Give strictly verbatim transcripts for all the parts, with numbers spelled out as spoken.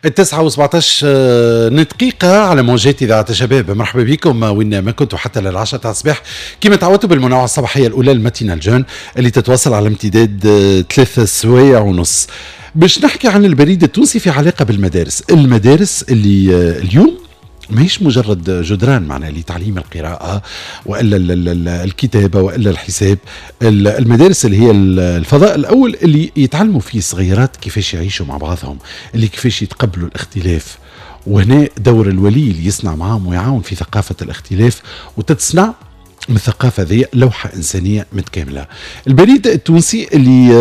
التسعة وسبعتاش دقيقة على موجات إذاعة الشباب. مرحبا بكم وين ما كنتوا حتى للعشرة تاع الصباح كما تعودتوا بالمنوعة الصباحية الأولى ال matinale jeune اللي تتواصل على امتداد ثلاث سوايع ونص. باش نحكي عن البريد التونسي في علاقة بالمدارس، المدارس اللي اليوم ماهيش مجرد جدران معنا لتعليم القراءة وإلا الكتابة وإلا الحساب. المدارس اللي هي الفضاء الأول اللي يتعلموا فيه الصغيرات كيفاش يعيشوا مع بعضهم، اللي كيفاش يتقبلوا الاختلاف، وهنا دور الولي اللي يصنع معهم ويعاون في ثقافة الاختلاف وتتصنع من الثقافة ذي لوحة إنسانية متكاملة. البريد التونسي اللي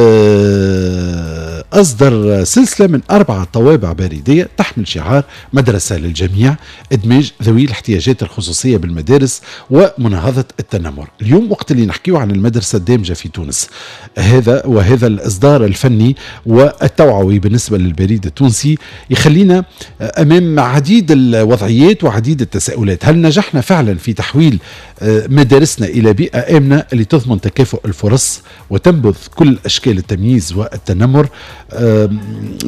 أصدر سلسلة من أربعة طوابع بريدية تحمل شعار مدرسة للجميع، إدماج ذوي الاحتياجات الخصوصية بالمدارس ومناهضة التنمر. اليوم وقت اللي نحكيه عن المدرسة الدامجة في تونس، هذا وهذا الإصدار الفني والتوعوي بالنسبة للبريد التونسي يخلينا أمام عديد الوضعيات وعديد التساؤلات. هل نجحنا فعلا في تحويل مدارسنا إلى بيئة آمنة اللي تضمن تكافؤ الفرص وتنبذ كل أشكال التمييز والتنمر؟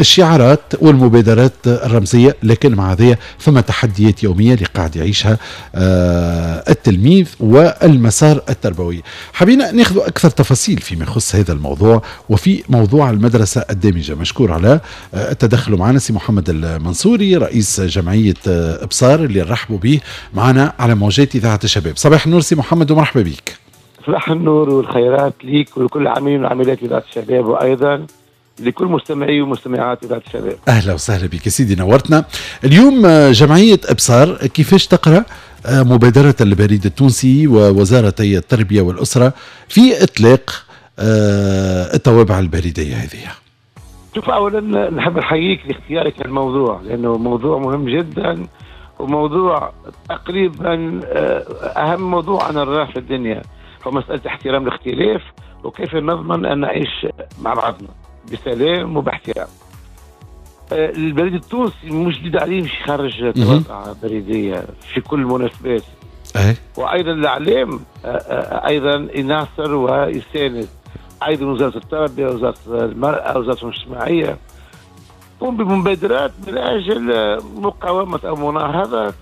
الشعارات والمبادرات الرمزية، لكن مع ذي فما تحديات يومية اللي قاعد يعيشها التلميذ والمسار التربوي. حبينا ناخذ أكثر تفاصيل فيما يخص هذا الموضوع وفي موضوع المدرسة الدامجة. مشكور على التدخل معنا سي محمد المنصوري رئيس جمعية إبصار اللي نرحبوا به معنا على موجات إذاعة الشباب. صباح النور سي محمد ومرحبا بك. صباح النور والخيرات ليك ولكل العاملين وعاملات إذاعة الشباب وأيضا لكل مستمعي ومستمعات إذاعة الشباب. أهلا وسهلا بك سيدي، نورتنا. اليوم جمعية إبصار كيفاش تقرأ مبادرة البريد التونسي ووزارة التربية والأسرة في إطلاق الطوابع البريدية هذه؟ شوف، أولا نحب نحييك لاختيارك الموضوع لأنه موضوع مهم جدا وموضوع تقريبا أهم موضوع أنا نراه في الدنيا، هو مسألة احترام الاختلاف وكيف نضمن أن نعيش مع بعضنا بسلام وباحترام. البريد التونسي مش جديد عليه مش يخرج طوابع بريدية في كل المناسبات. وأيضا الإعلام أيضا يناصر ويساند، أيضا وزارة التربية وزارة المرأة وزارة الاجتماعية تقوم بمبادرات من أجل مقاومة أو مناهضة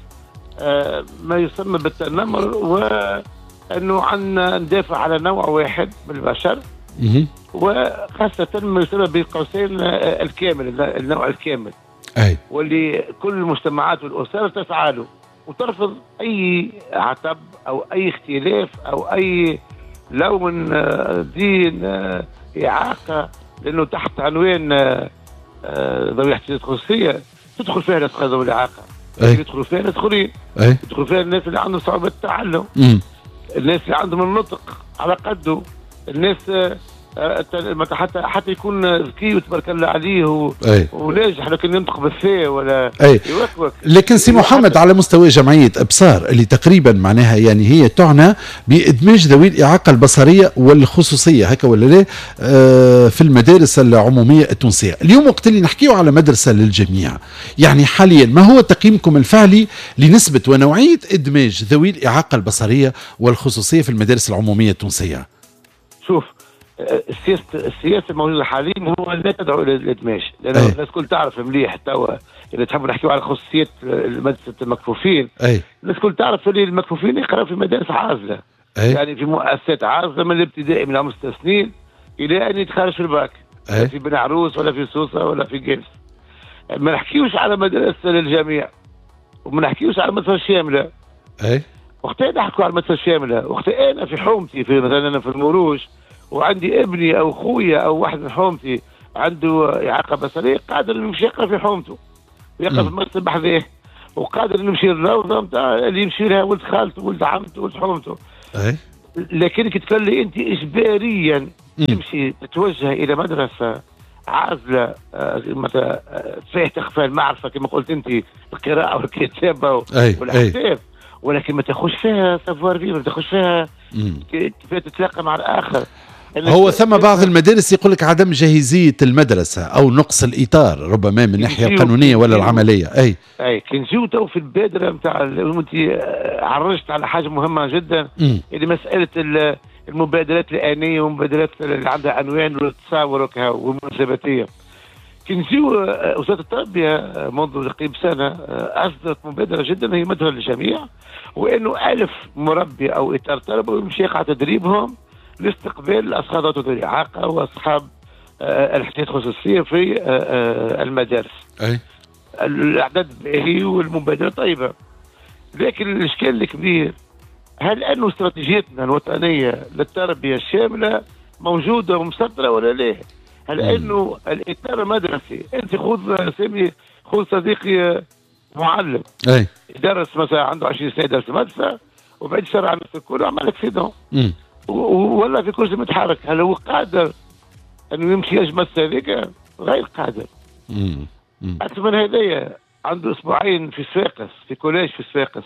ما يسمى بالتنمر، وأنه عندنا ندافع على نوع واحد من البشر وخاصة ما يسمى بقوسين الكامل، النوع الكامل. أي. واللي كل المجتمعات والأسر تسعى له وترفض أي عتب أو أي اختلاف أو أي لون، دين، إعاقة، لأنه تحت عنوان ذوي الاحتياجات الخصوصية تدخل فيها ناس ذوي الإعاقة، يدخلوا فيها ناس آخرين، يدخلوا فيها الناس اللي عندهم صعوبة التعلم، مم. الناس اللي عندهم النطق على قده، الناس حتى حتى يكون ذكي وتبارك الله عليه و... وناجح لكن ينطق بالثاء ولا يوكوك. لكن سي محمد على مستوى جمعية إبصار اللي تقريبا معناها يعني هي تعنى بإدماج ذوي الإعاقة البصرية والخصوصية هكا ولا لا آه في المدارس العمومية التونسية، اليوم وقت اللي نحكيو على مدرسة للجميع، يعني حاليا ما هو تقييمكم الفعلي لنسبة ونوعية إدماج ذوي الإعاقة البصرية والخصوصية في المدارس العمومية التونسية؟ شوف، السياسة السياسة الموجودة حاليا هو لا تدعو الى الادماج، لان الناس الكل تعرف مليح توا اللي تحبوا نحكيو على خصوصية مدرسه المكفوفين. أي. الناس الكل تعرف اللي المكفوفين يقراوا في مدارس عازله. أي. يعني في مؤسسات عازله من الابتدائي من عمر ست سنين الى ان يتخرج في الباك. أي. في بن عروس ولا في سوسة ولا في قابس. ما نحكيوش على مدرسه للجميع وما نحكيوش على مدرسه شاملة. أي. وقتها نحكوا على المدرسة الشاملة، وقتها انا في حومتي في مثلا انا في المروج وعندي ابني او خويا او واحد من حومتي عنده اعاقه بصريه قادر انه يمشي يقرا في حومته ويقرا في المكتب بحذاه، وقادر انه يمشي للروضه نتاع اللي يمشي لها ولد خالته ولد عمته ولد حومته. أي. لكن كي تولي انت اجباريا تمشي تتوجه الى مدرسه عازله مثلا فيه تخفى المعرفة كما قلت انت، القراءة والكتابة والحساب، ولكن ما تاخذش فيها savoir-vivre، ما تاخذش فيها كيف تتلاقى مع الاخر. هو ثم بعض المدارس يقول لك عدم جاهزية المدرسة أو نقص الإطار ربما من الناحية القانونية ولا العملية. أي أي كي نجيو تو في البادرة نتاع أنت عرجت على حاجة مهمة جدا اللي مسألة المبادرات الآنية والمبادرات اللي عندها عنوان والتصاور والمناسباتية. كي نجيو وزارة التربية منذ تقريبا سنة اصدرت مبادرة جدا هي مدخل للجميع، وانه ألف مربي او اطار تربوي يمشي يقع تدريبهم لاستقبال الاشخاص ذوي الاعاقة واصحاب الاحتياجات الخصوصية في المدارس. اي الاعداد باهي والمبادرة طيبة، لكن الاشكال الكبير هل انه استراتيجيتنا الوطنية للتربية الشاملة موجودة ومسطره ولا لا؟ هل انه الاطار المدرسي، انت خذ سامي، خذ صديقي معلم اي يدرس مثلا عنده عشرين سنة يدرس مدرسه وبعد شرع على نفسه كله عمل accident ولا في كرسي متحرك، هل هو قادر انه يمشي يجمع هذيك؟ غير قادر. اكثر من هذايا عنده اسبوعين في صفاقس، في collège في صفاقس،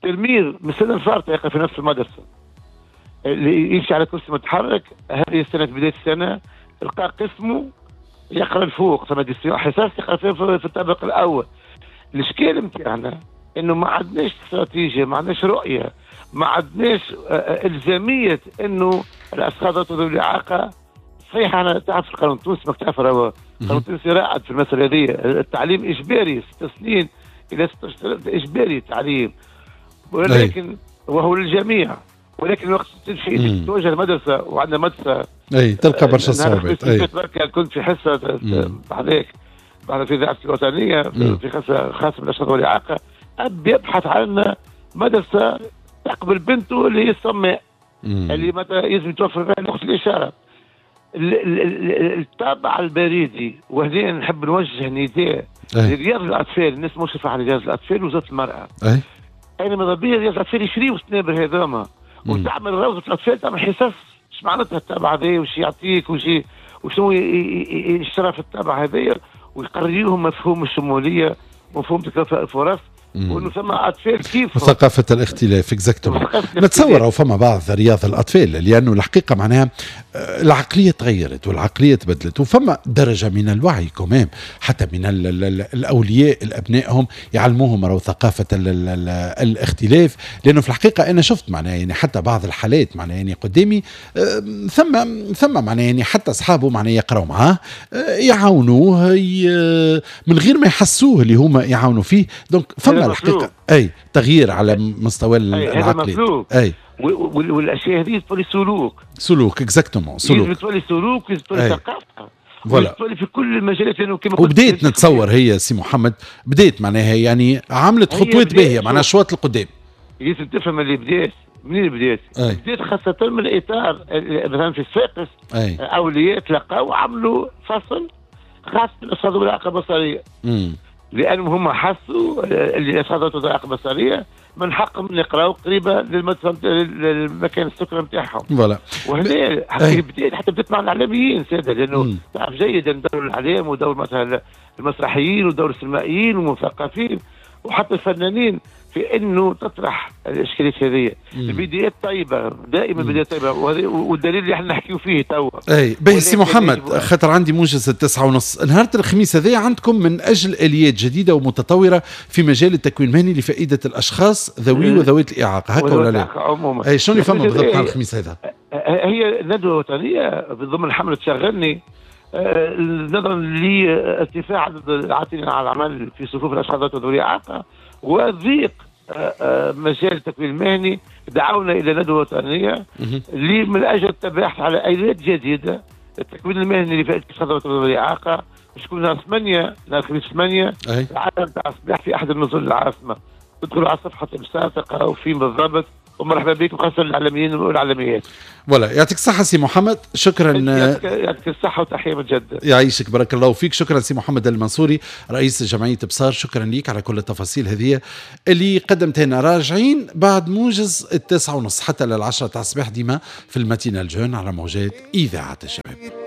تلميذ من السنة الفارطه يقف في نفس المدرسة اللي يمشي على كرسي متحرك، هذه السنة بداية السنة لقى قسمه يقرا الفوق، ثم حصص يقرا فيها في الطابق الاول. الاشكال نتاعنا انه ما عندناش استراتيجية، ما عندناش رؤية، ما عندناش الزامية انه الاشخاص ذوي الاعاقة. صحيح انا تعرف القانون التونسي، ما تعرف القانون التونسي رائد في المسالة هذه، التعليم اجباري ست سنين الى ست سنين اجباري التعليم، ولكن وهو للجميع، ولكن وقت تمشي تتوجه المدرسة وعندنا مدرسه اي تلقى برشا صعوبات. اي كنت في حصة بعدك بعد في اذاعة الوطنية في حصة خاصة بالاشخاص ذوي الاعاقة، اب يبحث عن مدرسه تقبل بنته اللي هي الصماء اللي مثلا لازم يتوفر فيها لغة الاشارة. الطابع البريدي، وهنا نحب نوجه نداء لرياض الاطفال، الناس مشرفة على رياض الاطفال وزارة المراة. اي انا ماذا بيا رياض الاطفال يشريوا السنابر هذوما وتعمل روضة الاطفال، تعمل حصص اش معناتها الطابع هذا وش يعطيك وش وشنو يشرف في الطابع هذايا، ويقريوهم مفهوم الشمولية، مفهوم تكافؤ الفرص، وانه ثم اطفال كيف ثقافة الاختلاف. exactement. نتصور او فما بعض رياض الاطفال، لانه الحقيقة معناها العقلية تغيرت والعقلية تبدلت، وفما درجه من الوعي quand même حتى من ال ال الاولياء لابنائهم يعلموهم راهو ثقافة ال ال الاختلاف، لانه في الحقيقة انا شفت معناها يعني حتى بعض الحالات معناها يعني قدامي ثم ثم معناها يعني حتى اصحابه معناها يقراوا معاه يعاونوه من غير ما يحسوه اللي هما يعاونوا فيه، donc فما الحقيقة اي تغيير على مستوى العقلية. اي والاشياء هذه تولي سلوك، سلوك exactement، سلوك تولي سلوك، تولي ثقافة، voilà تولي في كل المجالات. لانه كما وبديت نتصور هي سي محمد بديت معناها يعني عملت خطوات باهيه معناها شوط القدام. لازم تفهم اللي بديت منين بديت؟ أي. بديت خاصة من الإطار مثلا في صفاقس أولياء تلقاو عملوا فصل خاص بالأشخاص ذوي الإعاقة البصرية. لأنهم هم حسوا اللي الأشخاص ذوي الإعاقة البصرية من حقهم يقراوا قريبة للمكان السكنة نتاعهم. voilà. وهنا بديت حتى بديت مع الإعلاميين سادة، لأنه تعرف جيدا دور الإعلام ودور مثلا المسرحيين ودور السينمائيين والمثقفين وحتى الفنانين في انه تطرح الاشكاليات هذه. البدايات طيبة دائما، البدايات طيبة، والدليل اللي احنا نحكيو فيه توا. اي باهي سي محمد، خاطر عندي موجز التسعة ونص نهار الخميس هذا عندكم من اجل اليات جديدة ومتطوره في مجال التكوين المهني لفائدة الاشخاص ذوي وذوات الاعاقة، هكا ولا لا؟ عموما اي شنو اللي فما بالضبط نهار الخميس هذا؟ هي ندوه وطنية ضمن حمله شغلني، نظرا لارتفاع عدد العاطلين على العمل في صفوف الاشخاص ذوي الاعاقة وضيق مجال التكوين المهني، دعونا الى ندوه وطنية من اجل التباحث على اليات جديدة التكوين المهني لفائدة الاشخاص ذوي الاعاقة. باش يكون نهار ثمانية، نهار الخميس ثمانية العالم تاع الصباح في احد النزل العاصمة. تدخلوا على صفحة ابصار تلقاو فين بالضبط، ومرحبا بكم خاصة الإعلاميين والإعلاميات. voilà يعطيك الصحة سي محمد، شكرا. يعطيك الصحة وتحية من جدة. يعيشك بارك الله فيك، شكرا سي محمد المنصوري رئيس جمعية ابصار، شكرا ليك على كل التفاصيل هذه اللي قدمتها لنا. راجعين بعد موجز التسعة ونص حتى للعشرة تاع الصباح ديما في ال matinale jeune على موجات إذاعة الشباب.